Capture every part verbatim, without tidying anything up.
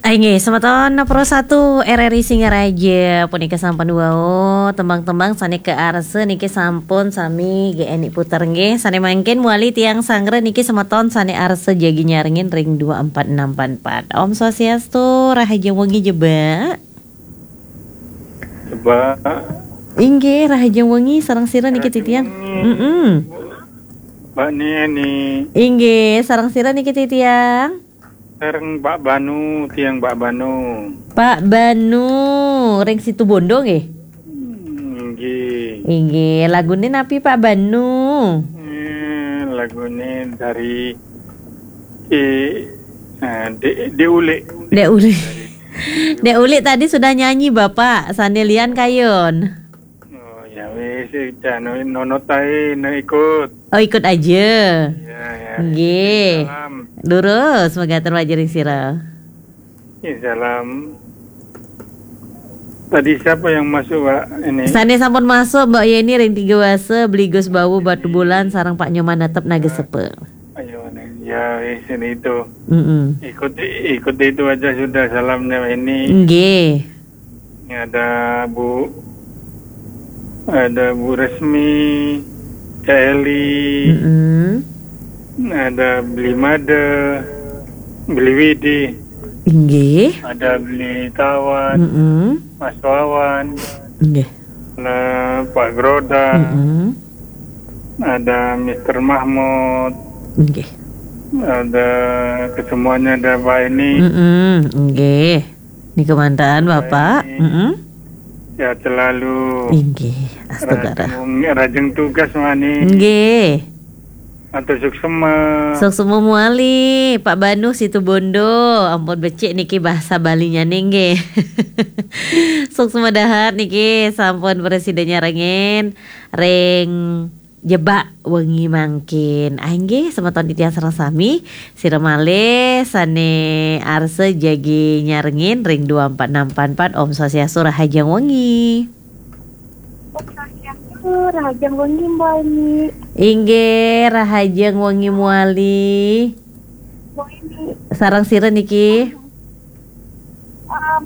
Inggih, semeton Pro satu R R I Singaraja, punika sampun wau tembang-tembang sane kaarsa niki sampun sami G N I puter nggih. Sane mangkin mawali tiang sanggra niki semeton sane arsa jagi nyarengin ring dua empat enam empat empat. Om Swastiastu, rahajeng wengi Jebak. Jebak. Inggih, rahajeng wengi sareng sira niki titiang. Rahajeng wengi. Mm-mm. Mbak Neni. Inggih, sareng sira niki titiang. Sareng Pak Banu, tiang Pak Banu. Pak Banu, ring Situbondo nggih? Hmm, nggih. Inggih, lagune napi Pak Banu? Eh, lagune dari, eh, eh, Dek, Dek Ulik. Dek Ulik. Dari Dek Ulik tadi sudah nyanyi, Bapak. Sane lian kayun. Oh, ya wis, anu, nonot ae, nek ikut. Oh, ikut aja. Ya, ya. Nggih. Salam. Durus, megatur wajaring sira. Ya, salam. Tadi siapa yang masuk, Pak? Ini. Sane sampun masuk, Mbak Yeni ring Tiga Wasa, Beli Gus Bawu, Batu Bulan, sareng Pak Nyoman Netep Nagesepa. Ayo, ya, wis, ini itu. Mm-mm. Ikuti, ikuti itu aja sudah salamnya ini. Nggih. Ini ada Bu, ada Bu Resmi, Cak Eli, Mm-mm. Ada Beli Made, Beli Widi, Inggih. Ada Beli Tawan, Mm-mm. Mas Wawan, Inggih. Ada Pak Groda, Mm-mm. Ada Mister Mahmud, Inggih. Ada kesemuanya, ada Pak ini. Mm-mm. Inggih. Nika mantan, Bapak. Baik. Mm-mm. Sehat selalu. Inggih, astagara. Rajeng, rajeng tugas, Mani. Inggih. Atur suksema. Suksema mawali, Pak Banu Situbondo. Ampun becik niki bahasa Balinyane nggih. Suksema dahat niki sampun prasida nyarengin ring Jebak wengi mangkin. Ah, inggih, semeton titiang sareng sami, sira malih sane arsa jagi nyarengin ring dua empat enam empat empat. Om Swastiastu, rahajeng wengi. Om Swastiastu, rahajeng wengi, Mbok Eni. Inggih, rahajeng wengi mawali. Mbok Eni. Sareng sira niki? Em,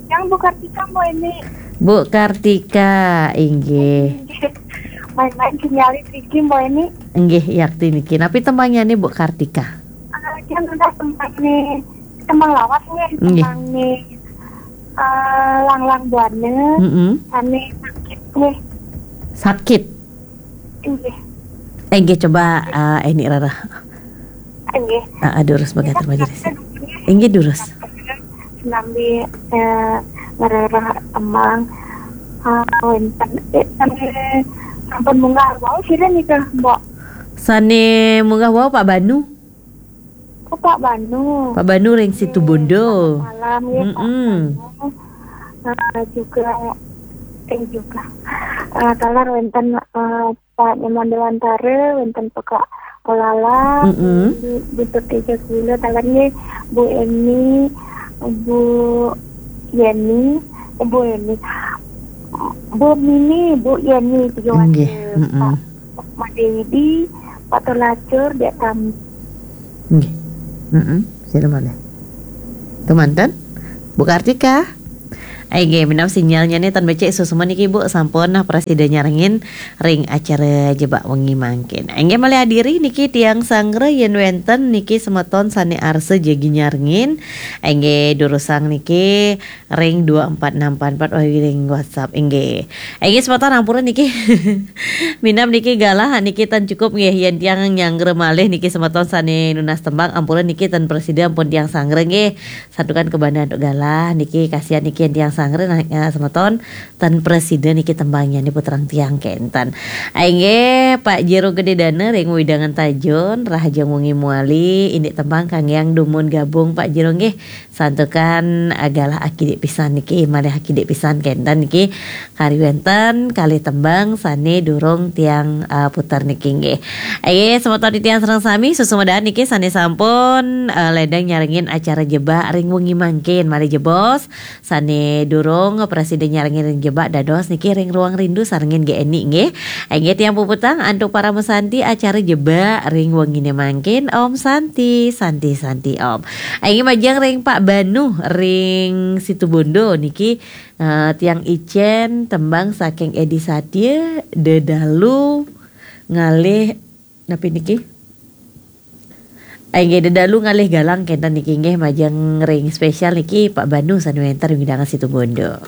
yang Bu Kartika, Mbok Eni. Bu Kartika, inggih. Main-main sinyale mriki, Mbok Eni. Inggih, yakti niki. Napi tembangnyané, Bu Kartika? Ah, yang ada tembang nih, tembang lawas nih, Nggih. Tembang nih, eh, Langlang Buana, Mm-mm. Sane Sakit nih. Sakit? Inggih. Eh, inggih, coba, eh, ini Rara. Inggih. Ah, ah, durus, kita begatur majelis. Inggih, durus. Sinambi, eh, ngrereh tembang, ah, wénten, eh, sané sampun munggah wau sira nika, Mbok? Sané munggah wau Pak Banu. Oh, Pak Banu. Pak Banu ring Situbondo. Selamat malam ya, Pak Mm-mm. Banu. Eh, juga, eh, juga, eh, taler wénten, eh, Pak Nyoman Dewantara, wénten Pekak Olala, Mm-mm. di, di Peteja Kula, taler nggih, Bu Eni, Bu Yeni, Bu Eni, Bu Mini, Bu Yeni, tiga Nggih, wase, mm-mm. Pak Made Widi, Pak Tolacur, Dek Tam. Nggih. Mm-mm. Sira malih. Tumanten, Bu Kartika. Inggih, minab sinyalnya nih tan becik suksma niki, Bu, sampun nah prasida nyarengin ring acara Jebak Wengi mangkin. Inggih, malih adiri niki tiang sanggra, yén wénten niki semeton sané arsa jagi nyarengin, inggih durusang niki ring dua empat enam empat empat, oh, ring WhatsApp, inggih. Inggih, semeton ampura niki. Minab niki galah niki tan cukup nggih, yén tiang nyanggra malih niki semeton sané nunas tembang, ampura niki tan prasida ampun tiang sanggra nggih. Santukan kabanda antuk galah niki, kasihan niki yén tiang sanggra nah, eh, semeton tan prasida niki tembangnya nih puterang tiang kénten. Inggih, Pak Jero Gedé Dana ring wewidangan Tajun, rahajeng wengi mawali, indik tembang kanggéang dumun gabung Pak Jero nggih. Santukan, eh, galah akidik pisan niki, malih akidik pisan kénten niki, kari wénten kalih tembang sané durung tiang, eh, puter niki nggih. Inggih, semeton titiang sareng sami, suksma dahat niki sané sampun, eh, ledang nyarengin acara Jebak ring wengi mangkin, malih jebos sané Durung prasida nyarengin ring jebak dados niki ring Ruang Rindu sarengin G N I nggih. Inggih tiang puputang antuk para masanti acara jebak ring wengine mangkin. Om Santi, Santi, Santi Om. Inggih majeng ring Pak Banu ring Situbondo niki, eh, tiang icen tembang saking Edi Satya, Dedalu ngalih napi niki? Inggih, Dedalu ngalih galang kenten niki nggih majeng ring spesial niki Pak Banu sane wenten ring wewidangan Situbondo.